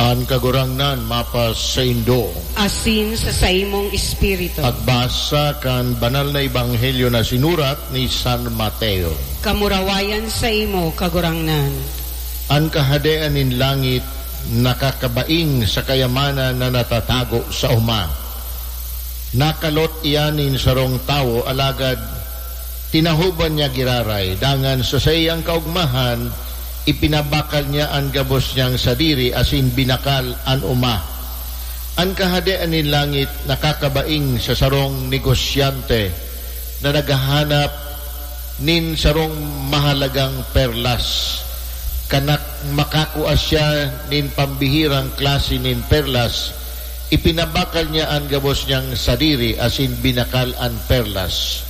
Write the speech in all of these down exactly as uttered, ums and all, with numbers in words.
An Kagurangnan mapasaindo. Asin sa saimong espiritu. Pagbasa kan Banal na Ebanghelyo na sinurat ni San Mateo. Kamurawayan saimo, Kagurangnan. An Kahadean nin langit nakakabaing sa kayamanan na natatago sa oma. Nakalot iyan nin sarong tawo, alagad tinahoban niya giraray, dangan sa saiyang kaogmahan, ipinabakal niya an gabos niyang sadiri asin binakal an oma. An Kahadean nin langit nakakabaing sa sarong negosyante na naghahanap nin sarong mahalagang perlas. Kan nak-, makakua siya nin pambihirang klase nin perlas, ipinabakal niya an gabos niyang sadiri asin binakal an perlas.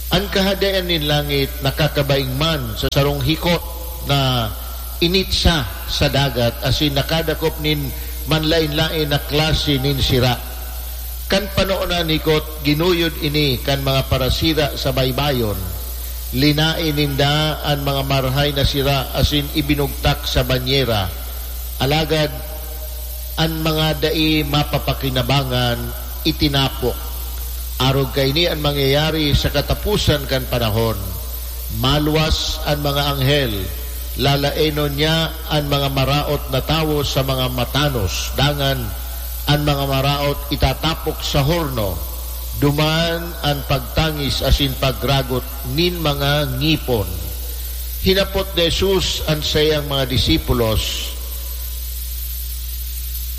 An Kahadean nin langit nakakabaing man sa sarong hikot na initsa sa dagat asin nakadakop nin manlaen-laen na klase nin sira. Kan panoon na an hikot, ginuyod ini kan mga parasira sa baybayon. Linaen ninda an mga marahay na sira asin ibinugtak sa banyera. Alagad an mga dai mapapakinabangan itinapok. Arog kaini an mangyayari sa kataposan kan panahon. Maluwas an mga anghel, lalaenon niya an mga maraot na tawo sa mga matanos, dangan an mga maraot itatapok sa horno. Duman an pagtangis asin pagragot nin mga ngipon. Hinapot ni Jesus an saiyang mga disipulos,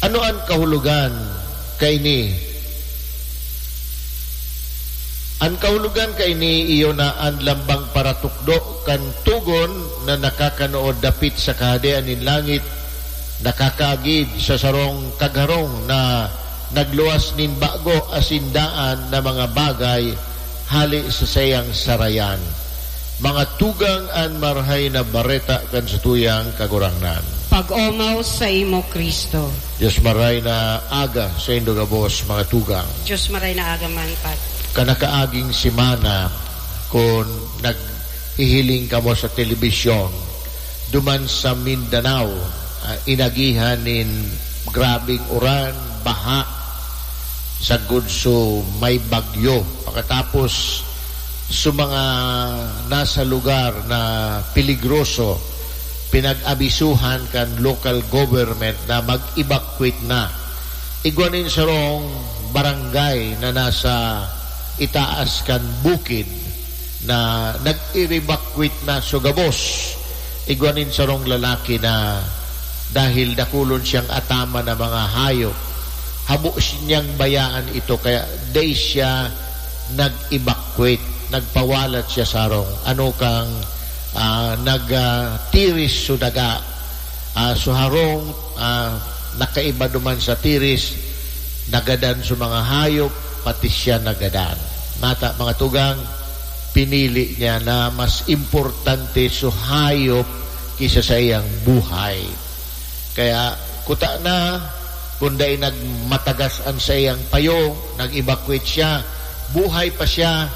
"Ano an kahulogan kaini?" An kahulogan kaini iyo na an lambang paratukdo kan togon na nakakanood dapit sa Kahadean nin langit, nakakaagid sa sarong kagharong na nagluwas nin bago asin daan na mga bagay hale sa saiyang sarayan. Mga tugang, an Marahay na Bareta kan satuyang Kagurangnan. Pag-omaw saimo, Cristo. Dios maray na aga saindo gabos, mga tugang. Dios maray na aga man, Pad. Kan nakaaging semana, kun naghihiling kamo sa telebisyon, duman sa Mindanao, ah, inagihan nin grabeng uran, baha, sagkod su may bagyo. Pakatapos, su mga nasa lugar na peligroso, pinag-abisuhan kan local government na mag-evacuate na. Igwa nin sarong barangay na nasa itaas kan bukid na nag-evacuate na su gabos. Igwa nin sarong lalaki na dahil dakulon siyang ataman na mga hayop, habo niyang bayaan ito, kaya dai siya nag-evacuate, nagpawalat siya sa harong. Ano kang, ah, nag, ah, tiris su daga, ah, su harong, ah, nakaiba duman sa tiris, nagadan su mga hayop, pati siya nagadan. Nata, mga tugang, pinili niya na mas importante su hayop ki sa saiyang buhay. Kaya, kuta na, kun dai nagmatagas an saiyang payo, nag-evacuate siya, buhay pa siya,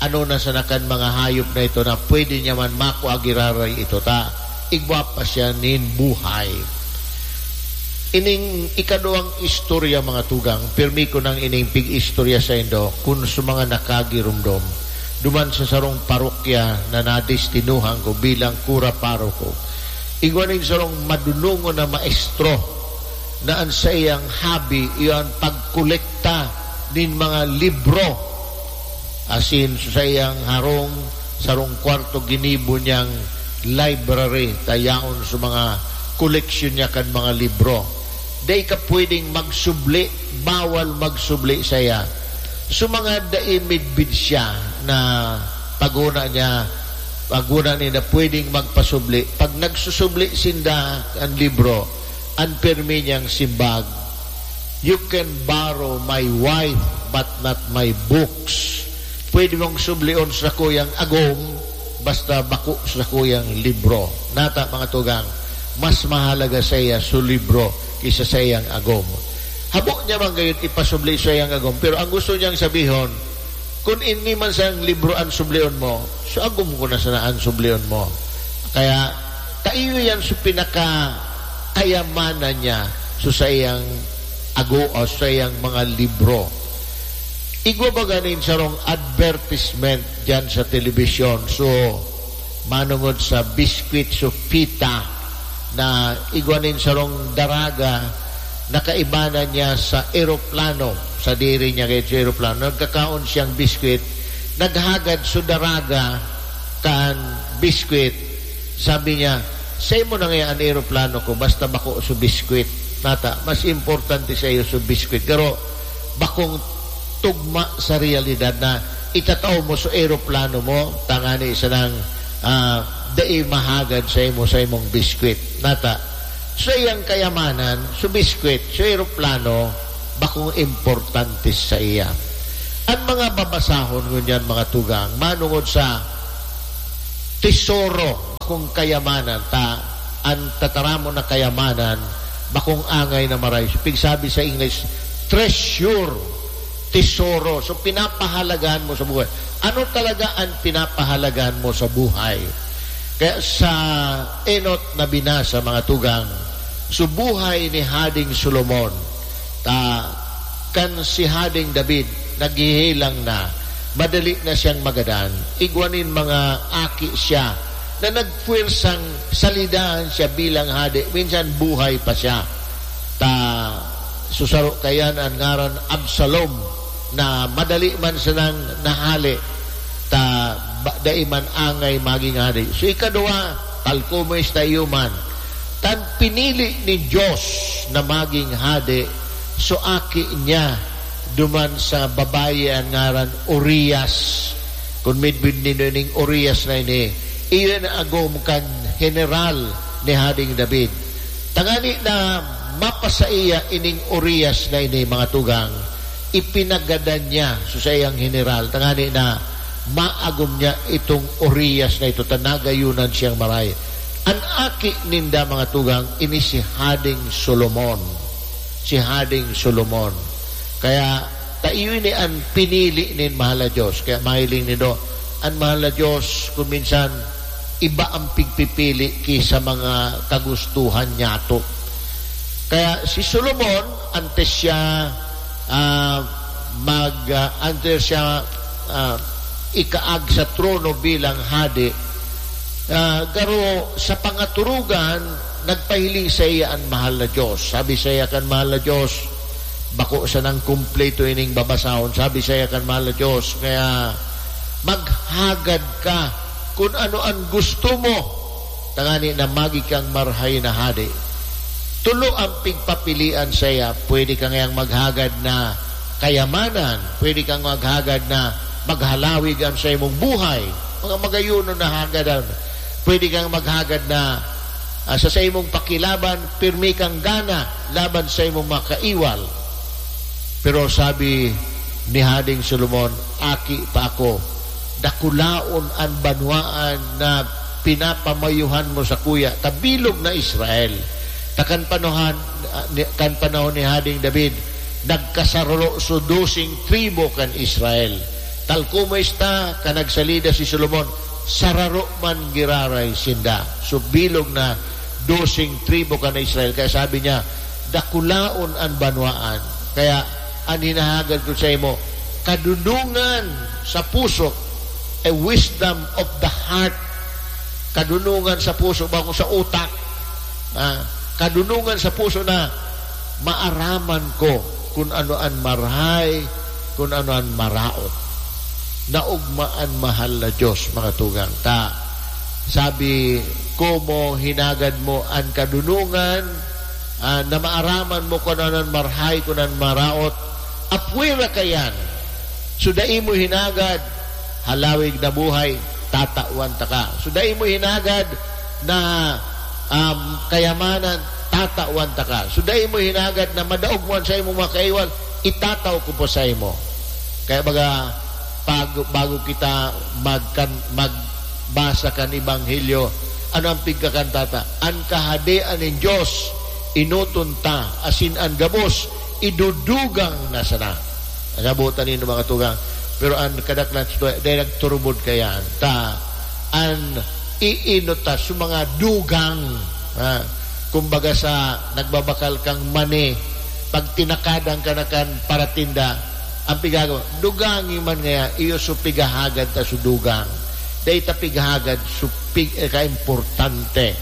ano na sana kan mga hayop na ito na pwede niya man makua giraray ito ta igwa pa siya nin buhay. Ining ikaduwang istorya, mga tugang, pirmi ko nang ining pig-istorya saindo kun sa mga nakagiromdom, duman sa sarong parokya na nadestinuhan ko bilang kura paroko. Igwa nin sarong madunongon na maestro na an saiyang hobby iyo an pagkolekta nin mga libro. Asin sa saiyang harong, sarong kwarto, ginibo niyang library, ta yaon sa mga koleksyon niya kan mga libro. Dai ka pwedeng magsubli, bawal magsubli saiya. So, mga dai midbid siya na paguna niya, paguna niya na pwedeng magpasubli. Pag nagsusubli sinda kan libro, an pirmi niyang simbag, "You can borrow my wife, but not my books." Pwede mong sublion sa sakuyang agom, basta bako sa sakuyang libro. Nata, mga tugang, mas mahalaga saiya su libro ki sa saiyang agom. Habo niya man gayon ipasubli saiyang agom, pero ang gusto niyang sabihon, "Kun ini man sang libro an sublion mo, su agom ko na sana an sublion mo." Kaya, kaiyo yan su pinakakayamanan niya. So, saiyang ago o saiyang mga libro. Igwa baga nin sarong advertisement diyan sa telebisyon. So, manongod sa biskwit, so pita, na igwa nin sarong daraga na kaibanan niya sa eroplano. Sadiri niya kayo sa eroplano. Nagkakaon siyang biskwit. Naghagad so daraga kan biskwit. Sabi niya, "Saimo na ngaya an eroplano ko, basta bako so biskwit." Nata, mas importante saiyo so biskwit. Pero bakong tugma sa realidad na itatao mo so eroplano mo, tangani sanang, ah, dai mahagad saimo, saimong biskwit. Nata, saiyang kayamanan, so biskwit, so eroplano, bakong importante saiya. An mga babasahon ngunyan, mga tugang, manongod sa tesoro, bakong kayamanan, ta an tataramon na kayamanan, bakong angay na maray. Pigsabi sa English, treasure, tesoro. So, pinapahalagahan mo sa buhay. Ano talaga an pinapahalagahan mo sa buhay? Kaya sa enot na binasa, mga tugang, so buhay ni Hading Solomon, ta kan si Hading David naghihilang na, madali na siyang magadan, igwa nin mga aki siya na nagpuwersang salidahan siya bilang hade, minsan buhay pa siya. Ta, so saro kayan an ngaran Absalom, na madali man sanang nahale, ta ba, dai man angay magin hade. So, ikaduwa, talkumoy sa iyo man. Tan pinili nin Dios na magin hade, so aki niya, duman sa babayi an ngaran Urias. Kun midbid nindo ining Urias na ini, iyo an agom kan heneral ni Hading David. Tangani na mapasaiya ining Urias na ini, mga tugang, ipinagadan niya so saiyang heneral, tangani na maagom niya itong Urias na ito, ta nagayunan siyang maray. An aki ninda, mga tugang, ini si Hading Solomon. Si Hading Solomon. Kaya, ta iyo ini an pinili nin Mahal na Diyos. Kaya mahiling nindo, an Mahal na Diyos, kung minsan, iba ang pigpipili ki sa mga kagustuhan niyato. Kaya si Solomon, antes siya, ah, mag, ah, antes siya, ah, ikaag sa trono bilang hade, ah, garo sa pangaturugan, nagpahiling saiya an Mahal na Diyos. Sabi saiya kan Mahal na Diyos, bako sanang kumpleto ining babasahon. Sabi saiya kan Mahal na Diyos, kaya maghagad ka kun ano an gusto mo, tangani na magi kang marhay na hade. Tulo ang pigpapilian saiya. Pwede ka ngayang maghagad na kayamanan, pwede kang maghagad na maghalawig an saimong buhay, mga magayonon na hagadan. Pwede kang maghagad na, ah, sa saimong pakilaban, pirmi kang gana laban sa imong mga kaiwal. Pero sabi ni Hading Solomon, "Aki pa ako, dakulaon an banwaan na pinapamayuhan mo sakuya, ta bilog na Israel." Ta kan panahan, ah, ni, kan panahon ni Hading David, nagkasararo so doseng tribo kan Israel. Talkumoy esta, kan nagsalida si Solomon, sararo man giraray sinda. So, bilog na doseng tribo kan Israel. Kaya sabi niya, "Dakulaon an banwaan." Kaya, an hinahagad ko saimo, kadunongan sa puso, a wisdom of the heart. Kadunongan sa puso, bako sa utak. Ah, kadunongan sa puso na maaraman ko kun ano an marhay, kun ano an maraot. Naogma an Mahal na Diyos, mga tugang. Ta, sabi, "Komo hinagad mo an kadunongan, ah, na maaraman mo kun ano an marhay, kun an maraot, apwera kaiyan. So, dai mo hinagad halawig na buhay, tatawan taka. So, dai mo hinagad na, um, kayamanan, tatawan taka. So, dai mo hinagad na madaog mo an saimong mga kaiwal, itataw ko po saimo." Kaya baga, pag, bago kita magkan-, magbasa kan Ebanghelyo, ano ang pigkakantata? "An Kahadean nin Dios, enoton ta, asin an gabos, idudugang na sana." Nasabotan nindo, mga tugang. Pero an kadaklan sa tuwa, dai nagturubod kaiyan. Ta, an iinot ta sa mga dugang, ha? Kumbaga sa nagbabakal kang mani, pag tinakadan ka na kan paratinda, ang pigagawa, dugangi man ngaya, iyo so pigahagad ta so dugang. Dai ta pighagad so pig-, eh, kaimportante.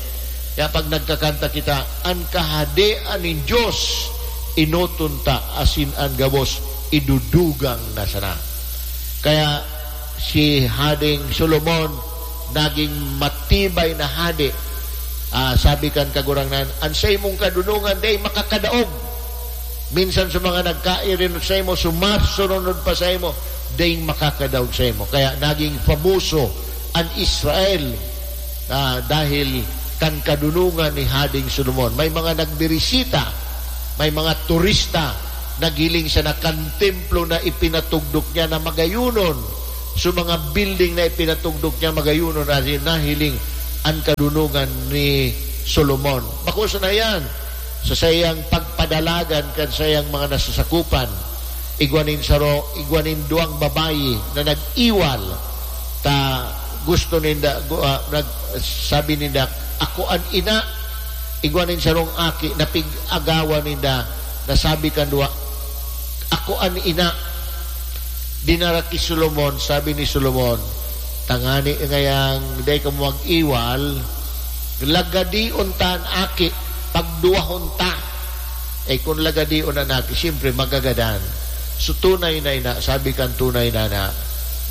Kaya pag nagkakanta kita, "An Kahadean nin Dios, enoton ta, asin an gabos, idudugang na sana." Kaya si Hading Solomon, naging matibay na hade. Ah, sabi kan Kagurangnan, "An saimong kadunongan dai makakadaog." Minsan sa mga nagkairinot saimo, sumasunod pa saimo, daing makakadaog saimo. Kaya naging famoso an Israel, ah, dahil kan kadunongan ni Hading Solomon. May mga nagbirisita, may mga turista, naghiling sana kan templo na ipinatugdok niya na magayonon. So, mga building na ipinatugdok niya magayonon, dahil nahiling an kadunongan ni Solomon. Bako sana yan, sa saiyang pagpadalagan kan saiyang mga nasasakupan, igwa nin saro, igwa nin duwang babayi na nag-iwal, ta gusto ninda, gu-, ah, nag-, sabi ninda, "Ako an ina." Igwa nin sarong aki na pig-agawan ninda, na sabi kan duwa, "Ako an ina." Dinara ki Solomon, sabi ni Solomon, "Tangani ngayang dai kamo mag-iwal, lagadion ta an aki, pagduwahon ta." Eh, kun lagadion an aki, siyempre, magagadan. So, tunay na ina, sabi kan tunay na ina,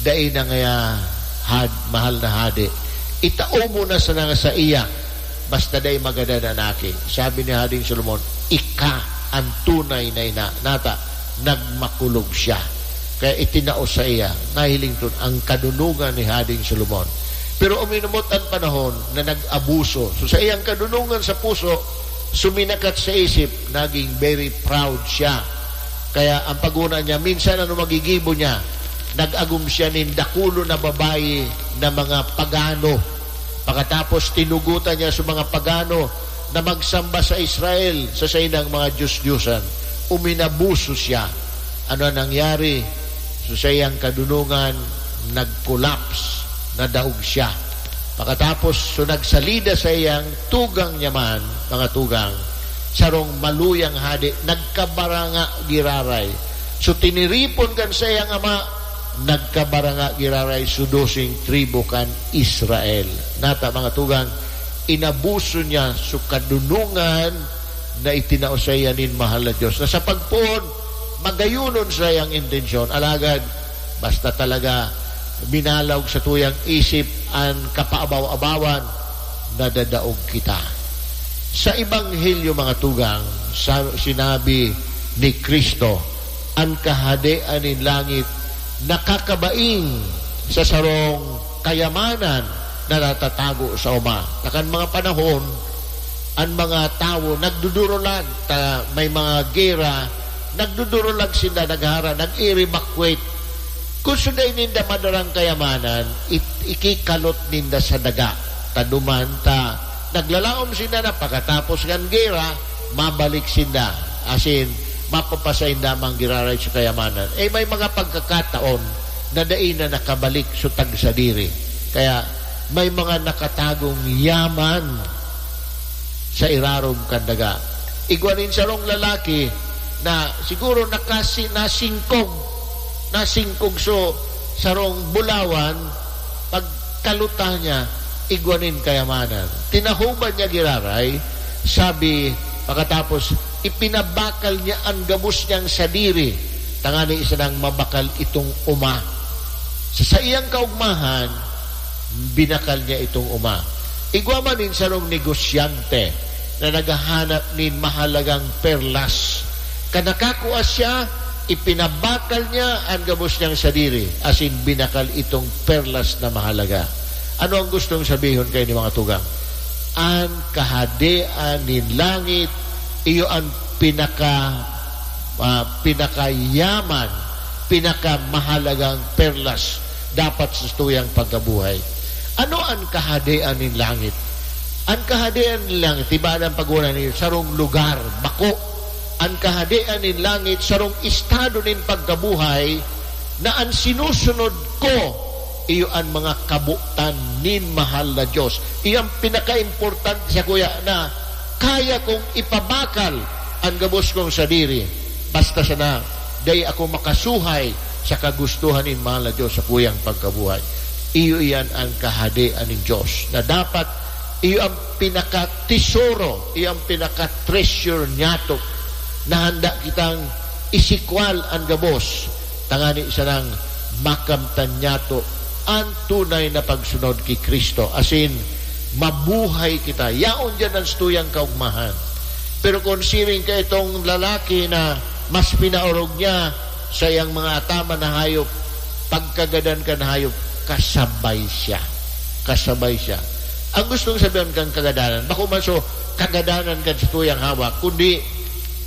dai na ngaya had-, mahal na hade. Itao mo na sana sa iya, basta dai magadan an aki. Sabi ni Hading Solomon, "Ika an tunay na ina." Nata, nagmakulog siya. Kaya itinao sa iya, nahiling ton ang kadunongan ni Hading Solomon. Pero uminumot an panahon na nag-abuso. So, sa iyang kadunongan sa puso, suminakat sa isip, naging very proud siya. Kaya ang paguna niya, minsan ano magigibo niya, nag-agom siya nin dakulon na babayi na mga pagano. Pakatapos, tinugotan niya sa mga pagano na magsamba sa Israel, sa saindang mga dios-diosan. Uminabuso siya. Ano ang nangyari? So, sa iyang kadunongan, nag-collapse, nadaog siya. Pakatapos, so, nagsalida sa iyang tugang niya man, mga tugang, sarong maluyang hade, nagkabaranga giraray. So, tiniripon kan saiyang ama, nagkabaranga giraray, so, doseng tribu kan Israel. Nata, mga tugang, inabuso niya so kadunongan na itinao saiya nin mahal na Dios, na sa pagpoon, magayonon saiyang intensyon. Alagad, basta talaga minalaog sa tuyang isip an kapaabaw-abawan, nadadaog kita. Sa Ebanghelyo, mga tugang, sa, sinabi ni Cristo, an Kahadean nin langit nakakabaing sa sarong kayamanan na natatago sa oma. Sa kan mga panahon, an mga tawo nagdudurulag, ta may mga gera, nagdudurulag sinda, naghara, nag-evacuate. Kun sundai ninda madarang kayamanan, it-, ikikalot ninda sa daga. Ta duman ta, naglalaom sinda na pakatapos kan gera, mabalik sinda. Asin, mapapasainda man giraray sa kayamanan. Eh, may mga pagkakataon na dai na nakabalik so tagsadiri. Kaya, may mga nakatagong yaman sa irarom kan daga. Igwa nin sarong lalaki na siguro nakasi-, nasingkog, nasingkog so sarong bulawan, pagkaluta niya, igwa nin kayamanan. Tinahoban niya giraray, sabi, pakatapos, ipinabakal niya an gabos niyang sadiri, tangani sanang mabakal itong oma. Sa saiyang kaugmahan, binakal niya itong oma. Igwa man nin sarong negosyante na naghahanap nin mahalagang perlas. Kan nakakua siya, ipinabakal niya an gabos niyang sadiri, asin binakal itong perlas na mahalaga. Ano ang gustong sabihon kaini, mga tugang? An Kahadean nin langit, iyo an pinaka, ah, pinakayaman, pinakamahalagang perlas dapat sa tuyang pagkabuhay. Ano an Kahadean nin langit? An Kahadean nin langit, iba an paguna niyo, sarong lugar, bako. An Kahadean nin langit, sarong estado nin pagkabuhay na an sinusunod ko, iyo an mga kabotan nin mahal na Dios. Iyo an pinakaimportante sa kuya na Kaya kong ipabakal an gabos kong sadiri, basta sana dai ako makasuhay sa kagustohan nin mahal na Dios sa kuyang pagkabuhay. Iyo iyan an kahadean nin Dios, na dapat iyo ang pinakatesoro, iyo ang pinaka-treasure niyato, na handa kitang isikwal an gabos, tangani sanang makamtan niyato an tunay na pagsunod ki Cristo, asin mabuhay kita. Yaon diyan an satuyang kaogmahan. Pero kun siring ka itong lalaki na mas pinaorog niya sa iyang mga ataman na hayop, pagkagadan kan hayop, kasabay siya. Kasabay siya. Ang gustong sabihin kan kagadanan, bako man so kagadanan kan satuyang hawak, kundi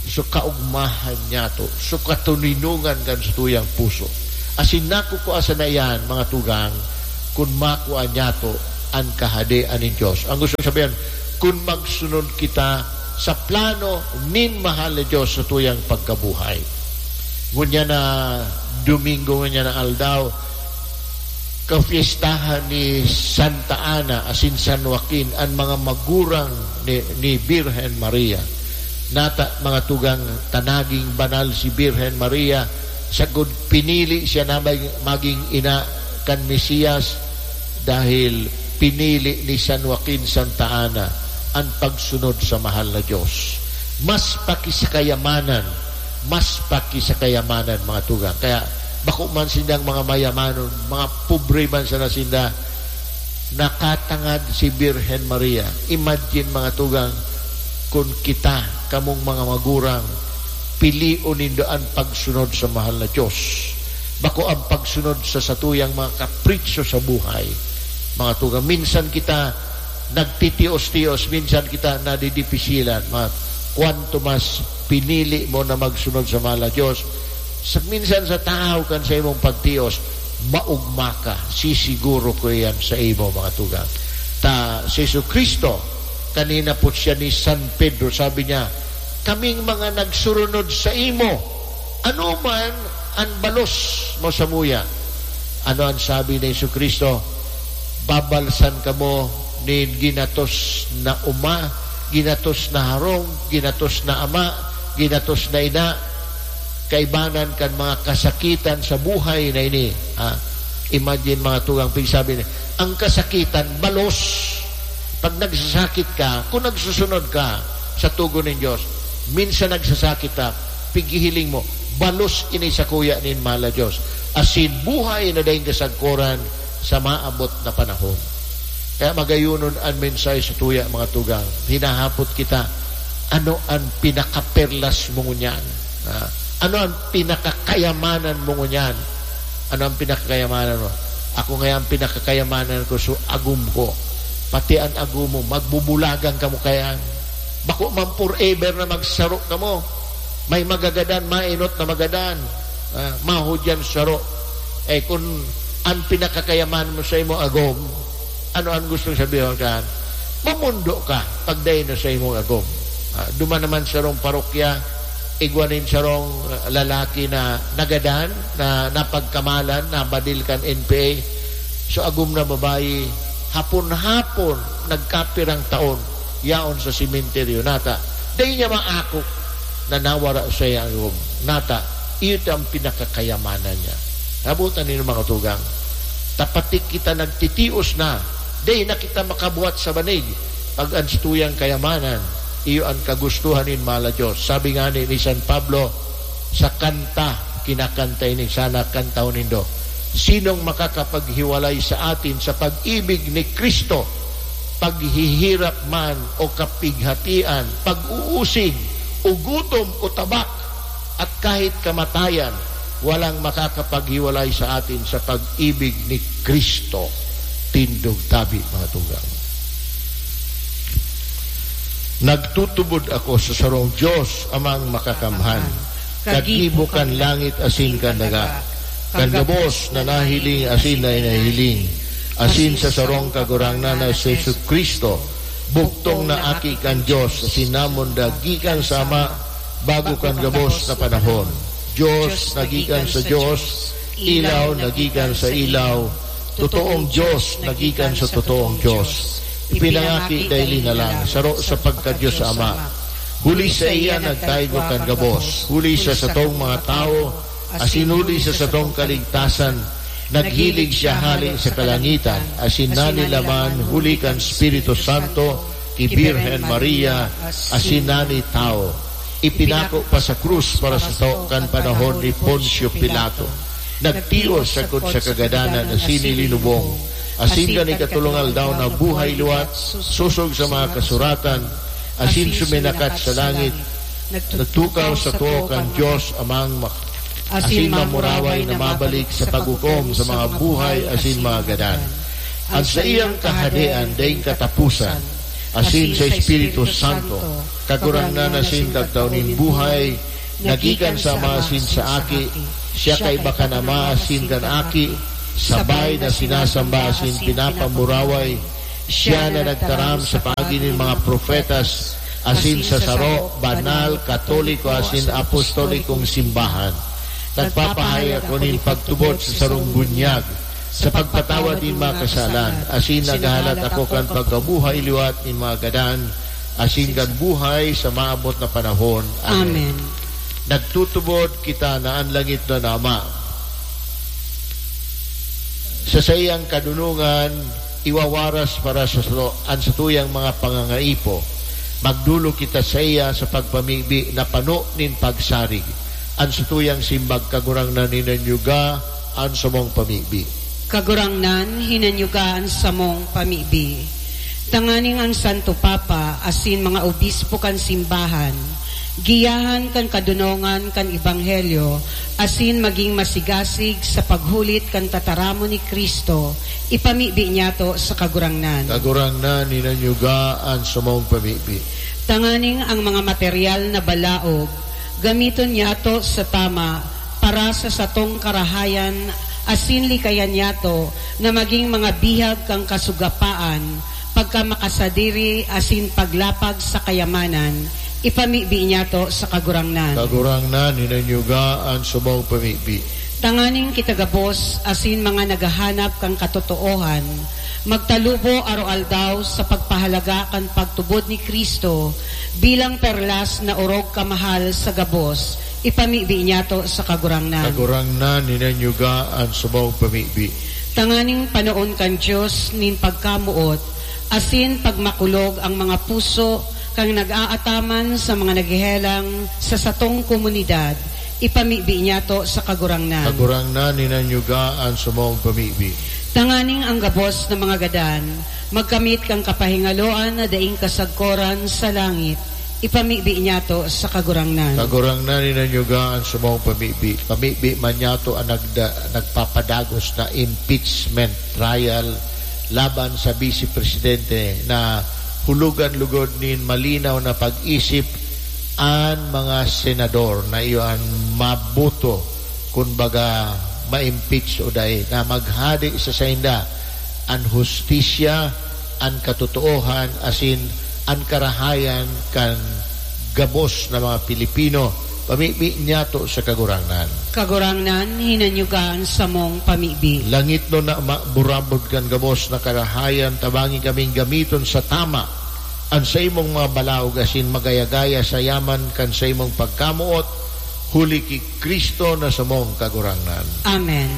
so kaogmahan niyato, so katoninongan kan satuyang puso. Asin nakukua sana iyan, mga tugang, kun makua niyato an Kahadean nin Dios. Ang gustong sabihin, kun magsunod kita sa plano nin mahal na Dios sa tuyang pagkabuhay. Ngunyan na Domingo, ngunyan na aldaw, kafiestahan ni Santa Ana asin San Joaquin, an mga magurang ni, ni Birhen Maria. Nata, mga tugang, ta naging banal si Birhen Maria, sagkod pinili siya na mag-, maging ina kan Mesiyas, dahil pinili ni San Joaquin Santa Ana an pagsunod sa mahal na Dios. Mas pa ki sa kayamanan, mas pa ki sa kayamanan, mga tugang. Kaya bako man sindang mga mayamanon, mga pobre man sana sinda, nakatangad si Birhen Maria. Imagine, mga tugang, kun kita, kamong mga magurang, pilion nindo an pagsunod sa mahal na Dios. Bako ang pagsunod sa satuyang mga kapritsyo sa buhay. Mga tugang, minsan kita nagtitios-tios, minsan kita nadidipisilan. Ma-, kwanto mas pinili mo na magsunod sa mahal na Dios, sa, minsan sa tahaw kan sa imong pagtios, maogma ka, sisiguro ko iyan sa imo, mga tugang. Ta, si Jesu-Cristo, kanina po siya ni San Pedro, sabi niya, "Kaming mga nagsurunod sa imo, ano man an balos mo samuya?" Ano an sabi ni Jesu-Cristo? "Babalsan kamo nin ginatos na oma, ginatos na harong, ginatos na ama, ginatos na ina, kaibanan kan mga kasakitan sa buhay na ini." Ha? Imagine, mga tugang, pigsabi ni, ang kasakitan, balos. Pag nagsasakit ka, kung nagsusunod ka sa tugon nin Dios, minsan nagsasakit ka, pighihiling mo, balos ini sakuya nin mahal na Dios. Asin buhay na daing kasagkoran sa maabot na panahon. Kaya magayonon an mensahe sa tuya, mga tugang. Hinahapot kita, ano an pinakaperlas mo ngunyan? Ah, ano an pinakakayamanan mo ngunyan? Ano an pinakakayamanan mo? Ako ngaya, an pinakakayamanan ko, so agom ko. Pati an agom mo, magbubulagan kamo kaiyan. Bako man forever na magsaro kamo. May magagadan, mainot na magadan. Ah, mahudyan saro. Eh, kun an pinakakayamanan mo sa imo agom, ano an gustong sabihon kan? Mamundo ka pag dai na sa imong agom. Ah, duman naman sarong parokya, igwa nin sarong, ah, lalaki na nagadan, na napagkamalan, nabadil kan N P A. So, agom na babayi, hapon-hapon, nagkapirang taon, yaon sa sementeryo. Nata, dai niya maako na nawara sa iyang agom. Nata, iyo ta ang pinakakayamanan niya. Nabutan niyo, mga tugang. Ta pati kita nagtitios na, dai na kita makabuhat sa banig, pag an satuyang kayamanan, iyo an kagustuhan nin mahal na Dios. Sabi ngani ni San Pablo sa kanta, kinakanta ini, sana kantahon nindo, "Sinong makakapaghiwalay sa atin sa pag-ibig ni Cristo? Paghihirap man o kapighatian, pag-uusig o gutom o tabak, at kahit kamatayan, walang makakapaghiwalay sa atin sa pag-ibig ni Cristo." Tindog tabi, mga tugang. Nagtutubod ako sa sarong Dios, Amang Makakamhan, kagibo kan langit asin kan daga, kan gabos na nahiling asin na nahihiling, asin sa sarong Kagurangnan na si Jesu-Cristo, bugtong na Aki kan Dios, asin namonda gikan sa Ama, bago kan gabos na panahon. Dios na gikan sa Dios, ilaw na gikan sa ilaw, totoong Dios na gikan sa totoong Dios. Ipinangaki daili na lang, saro sa pagka-Dios Ama. Huli saiya nagtaygo kan gabos, huli sa satong mga tawo, asin huli sa satong kaligtasan, naghilig siya hale sa kalangitan, asin nanilaman huli kan Espiritu Santo, ki Birhen Maria, asin nani tawo. Ipinako pa sa krus para sato kan panahon ni Poncio Pilato. Nagtios sagkod sa kagadanan asin ilinubong. Asin kan ikatolong aldaw nabuhay liwat, sosog sa mga kasuratan, asin suminakat sa langit. Nagtukaw sa too kan Dios Amang mak-, asin mamuraway na mabalik sa paghukom sa mga buhay asin mga gadan. An saiyang kahadean daing kataposan, asin sa Espiritu Santo, Kagurangnan asin Kagtao nin buhay, nagikan sa Ama asin sa Aki, siya kaiba kan Ama asin kan Aki, sabay na sinasamba asin pinapamuraway, siya na nagtaram sa paagi nin mga propetas, asin sa saro, banal, katoliko asin apostolikong simbahan. Nagpapahay ako nin pagtubod sa sarong bunyag, sa pagpatawad nin mga kasalan, asin naghahalat ako kan pagkabuhay liwat nin mga gadan, asin kan buhay sa maabot na panahon. Amen. Amen. Nagtutubod kita na an langitnon na Ama, sa saiyang kadonongan, iwawaras para sa sato an satuyang mga pangangaipo. Magdolok kita saiya sa pagpamibi na pano nin pagsarig. An satuyang simbag, Kagurangnan, hinanyuga an samong pamibi. Kagurangnan, hinanyuga an samong pamibi. Tanganing an Santo Papa asin mga obispo kan simbahan, giyahan kan kadonongan kan ebanghelyo, asin magin masigasig sa paghulit kan tataramon ni Cristo, ipamibi niyato sa Kagurangnan. Kagurangnan, hinanyuga an samong pamibi. Tanganing ang mga material na balaog, gamiton niyato sa tama para sa satong karahayan asin likayan niyato na magin mga bihag kan kasugapaan, pagkamakasadiri asin paglapag sa kayamanan, ipamibi niyato sa Kagurangnan. Kagurangnan, hinanyuga an samong pamibi. Tanganing kita gabos asin mga naghahanap kan katotoohan, magtalubo aroaldaw sa pagpahalaga kan pagtubod ni Cristo bilang perlas na orog kamahal sa gabos, ipamibi niyato sa Kagurangnan. Kagurangnan, hinanyuga an samong pamibi. Tanganing panoon kan Dios nin pagkamoot asin pagmakulog ang mga puso kan nag-aataman sa mga naghehelang sa satong komunidad, ipamibi niyato sa Kagurangnan. Kagurangnan, hinanyuga an samong pamibi. Tanganing ang gabos na mga gadan magkamit kan kapahingaloan na daing kasagkoran sa langit, ipamibi niyato sa Kagurangnan. Kagurangnan, hinanyuga an samong pamibi. Pamibi man niyato an nagda-, nagpapadagos na impeachment trial laban sa Vice Presidente na hulugan lugod nin malinaw na pag-isip an mga senador na iyo an maboto, kun baga, ma-impeach o dai, na maghade sa sainda an hustisya, an katotoohan, asin an karahayan kan gabos na mga Pilipino, pamibi niyato sa Kagurangnan. Kagurangnan, hinanyuga an samong pamibi. Langitnon na Ama, burabod kan gabos na karahayan, tabangi kaming gamiton sa tama an saimong mga balaog asin magaya-gaya sa yaman kan saimong pagkamoot, huli ki Cristo na samong Kagurangnan. Amen.